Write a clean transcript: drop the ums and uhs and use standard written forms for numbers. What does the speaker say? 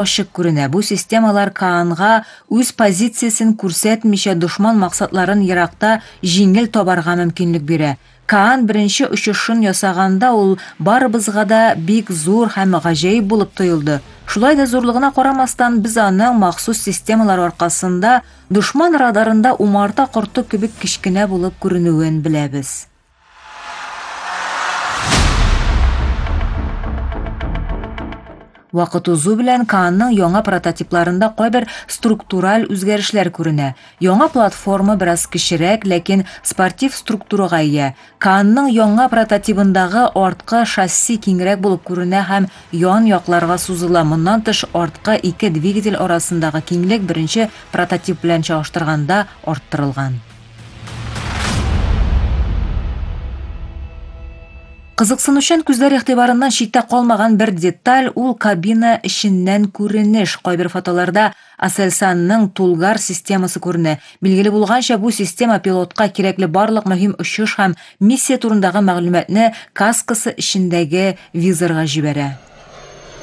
ашык көрүнө. Бу системалар Каанга өз позициясын көрсөтмөшө душман максатларын Иракта жеңил тобарга мүмкүнлүк берет. Каан биринчи учушун жасаганда ул барыбызга да бик зор һәм гажайып булып тоюлду. Шулай да зорлугуна карамастан биз анын махсус системалар аркасында душман радарында умарта курту күбүк кичкене булып көрүнүүн билебиз. Вакыт узуу менен Каандын яңа прототипларында койбир структураль үзгөрүшлөр көрүнө. Яңа платформа бир аз кичирээк, лекин спортив структурага ээ. Каандын яңа прототипиндагы арткы шасси кеңирээк болуп көрүнө һәм ян якларга сузула. Мындан тыш арткы эки двигатель арасындагы кеңлик биринчи прототип менен чагыштырганда арттырылган. Кызыксынуучан күздөр ыктыбарынан читтә калмаган бир деталь ул кабина ичинен көрүнүш. Койбир фотолордо Aselsan'ның Тулгар системасы көрүнө. Билгили булганча, бу система пилотка керекли барлык мөһим учуш һәм миссия турындагы маалыматны каскасы ичиндеги визорга жиберет.